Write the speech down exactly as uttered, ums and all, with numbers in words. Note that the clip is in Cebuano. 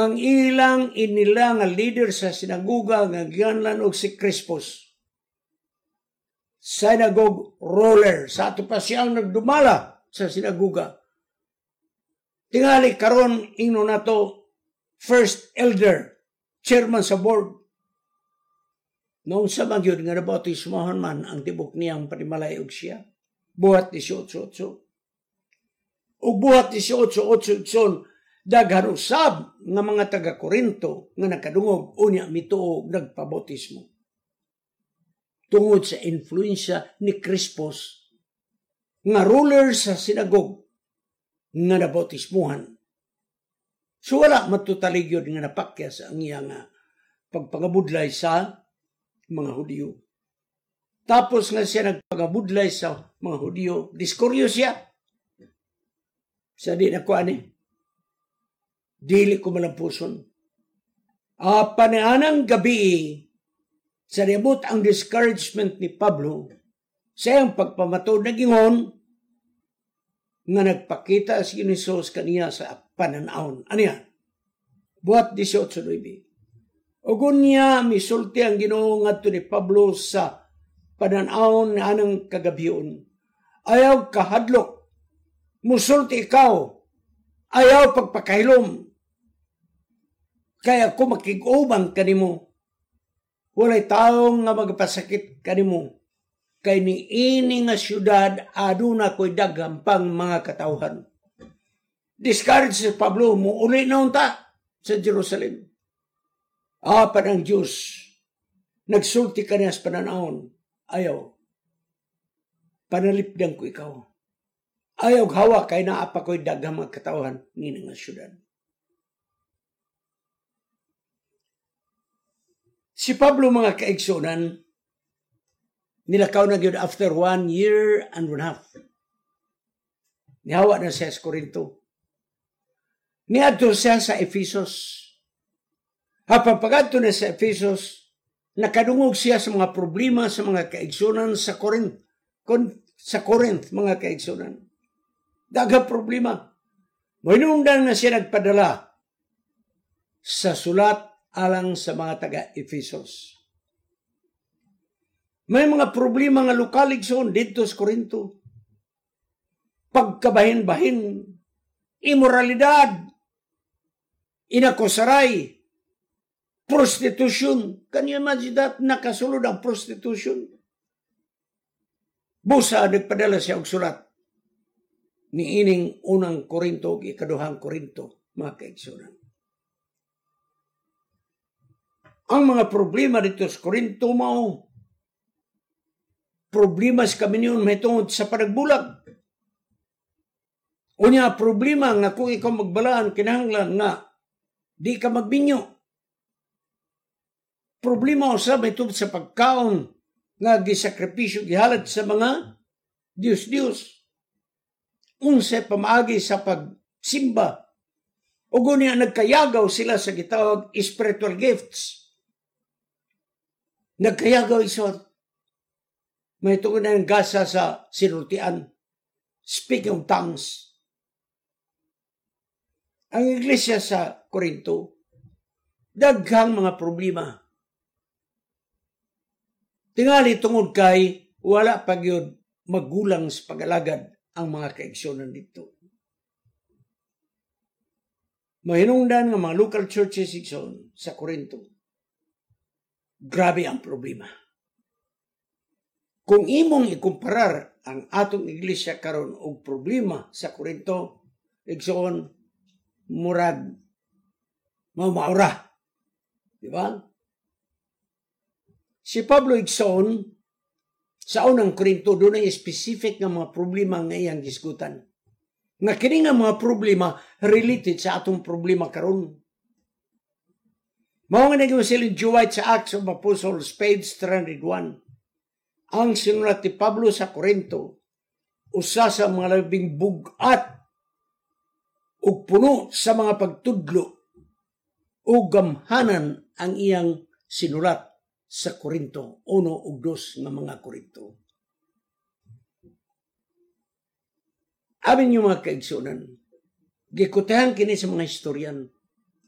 Ang ilang inila nga leader sa sinaguga nga giganlan og si Crispus. Synagogue ruler. Sa ato pa siyang nagdumala sa sinaguga. Tingali karon ingno nato first elder, chairman sa board. Noong sa magyud nga nabautismohan man ang tibok niyang panimalay og siya. Buhat eighteen oh eight. Ug buhat eighteen oh eight, igsoon, daghan usab nga mga taga Korinto nga nakadungog, unya mituo, nagpabautismo. Tungod sa influensya ni Crispus nga ruler sa sinagog nga nabautismuhan. So wala matutaligyod nga napakyas ang iya nga pagpangabudlay sa mga Hudiyo. Tapos nga siya nagpangabudlay sa mga Hudiyo, diskuryo siya. Sa di na ko ani. Dili ko malampuson. Apan anang gabi, sa niabot ang discouragement ni Pablo, sa iyang pagpamatod, nagingon nga nagpakita si Jesus kaniya sa pananawon. Ano yan? Buhat eighteen nine. Ug unya misulti ang Ginoo ngadto ni Pablo sa pananawon anang kagabion. "Ayaw kahadlok. Musulti ikaw. Ayaw pagpakahilom. Kay ako makig-uban kanimo. Walay taong nga magpasakit kanimo. Kay ni ini nga syudad aduna ko'y daghan pang mga katawhan." Discouraged si Pablo, muuli na unta sa Jerusalem. Apan ang Diyos nagsulti kaniya sa pananawon. "Ayaw. Panalipdan ko ikaw. Ayaw hawa kay naa pa ko'y daghang mga katawhan ni nga syudad." Si Pablo, mga kaigsunan, nilakaw na gyud after one year and one half. Nihawa na siya sa Corinto. Niadto siya sa Ephesus. Apan pagadto na sa Ephesus, nakadungog siya sa mga problema sa mga kaigsunan sa Corinth. Kon, sa Corinth, mga kaigsunan. Daghang problema. Mahinungdan na siya nagpadala sa sulat alang sa mga taga-Ephesus. May mga problema nga lokal, igsoon, dito sa Corinto. Pagkabahin-bahin, imoralidad, inakusaray, prostitution. Can you imagine that? Nakasulod ang prostitution. Busa, nagpadala siya og sulat ni ining Unang Korinto ug Ikaduhang Korinto, mga kaigsunan. Ang mga problema dito sa Korinto mao problema sa kaminyon mahitungod sa panagbulag. Unya problema nga kung ikaw magbalaan, kinahanglan nga di ka magbinyo. Problema usab mahitungod sa pagkaon nga gisakripisyo, gihalad sa mga Diyos-Diyos. Unsay pamaagi sa pagsimba. Ug unya nagkayagaw sila sa gitawag spiritual gifts. Nagkayagaw, igsoon. Mahitungod na ang gasa sa sinultian. Speaking of tongues. Ang iglesia sa Corinto, daghang mga problema. Tingali tungod kay wala pa gyud magulang sa pag-alagad ang mga kaigsunan dito. Mahinungdan nga mga local churches, igsoon, sa Corinto. Grabe ang problema. Kung imong ikumparar ang atong iglesia karon og problema sa Corinto, igsoon, murag mao maura. Di ba? Si Pablo, igsoon, sa Unang Korinto, dunay specific nga mga problema nga iyang gisgutan. Nga kini nga mga problema related sa atong problema karon. Mao nga naging si Ellen G. White sa Acts of Apostles, page three hundred one. Ang sinulat ni Pablo sa Korinto, usa sa mga labing bug-at ug puno sa mga pagtudlo ug gamhanan ang iyang sinulat sa Korinto, uno ug dos nga mga Korinto. Amin yung mga kaigsunan, gikutahan kini sa mga historian.